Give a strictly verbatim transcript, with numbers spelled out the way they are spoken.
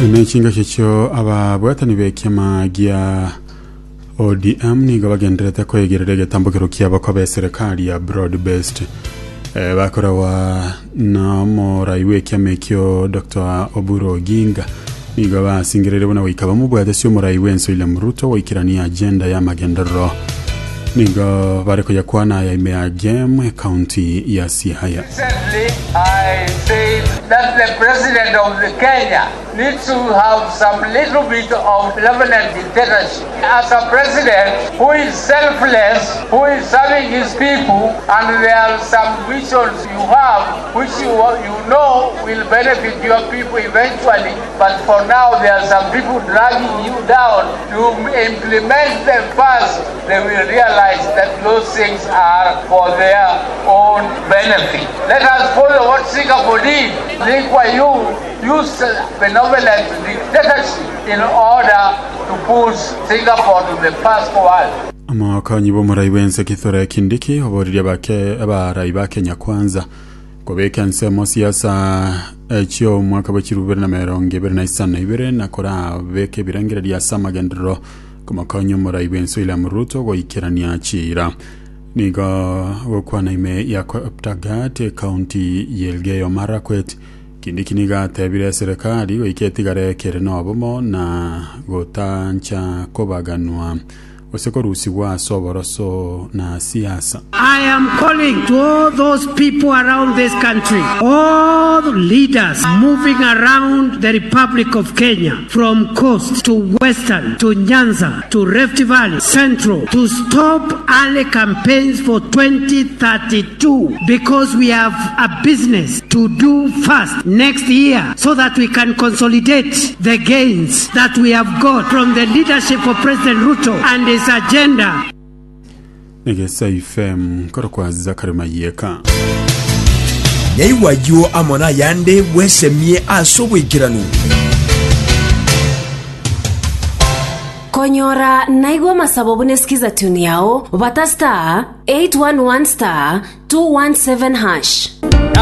Nechingaki echio ababwatani b'ekiama gia O D M nigo bagenderete koegerera egetambokero kiabo koba eserekari ya broad based eh, bakorawa na omorai bw'ekiama ekio Doctor Oburu Oginga. Nigo basingereire buna goika bamobwatesi omorai bw'ense William Ruto goikerania agenda ya magenderero. Nigo bare koyakwana aya ime ya Gem, ekaunti ya Siaya. Recently, I said that the president of the Kenya needs to have some little bit of benevolent dictatorship. As a president who is selfless, who is serving his people, and there are some visions you have which you, you know will benefit your people eventually, but for now there are some people dragging you down to implement them first. They will realize that those things are for their own benefit. Let us follow what Singapore did. Lee Kuan Yew used benevolent dictatorship in order to push Singapore to the first world. Omokonyi bw'omorai bwense Kithure Kindiki oboririe bake abarai ba Kenya Kwanza kobeka ensemo siasa echio omwaka bwa chirubere bibere na mirongo ibere na isano ibere na korabeka ebirengererio ase amagenderero komokonya omorai bwense William Ruto goikerania chira. Nigo gokwana ime ya Kaptagat, ekaunti ya Elgeyo Marakwet. Kindiki nigo atebire eserekari goika etigare kere na obomo na gotancha kobaganwa gose korusigwa ase oboroso na siasa. I am calling to all those people around this country, all the leaders moving around the Republic of Kenya, from coast to western to Nyanza to Rift Valley, Central, to stop early campaigns for twenty thirty-two because we have a business to do first next year so that we can consolidate the gains that we have got from the leadership of President Ruto and his agenda. Negesa F M korokwa Zakari Mayeka. Nyaiwayo amo nayande bwesemie ase obwaikeranu. Konyora naigwa masabo bune skiza tune yao bata star eight one one star two one seven hash.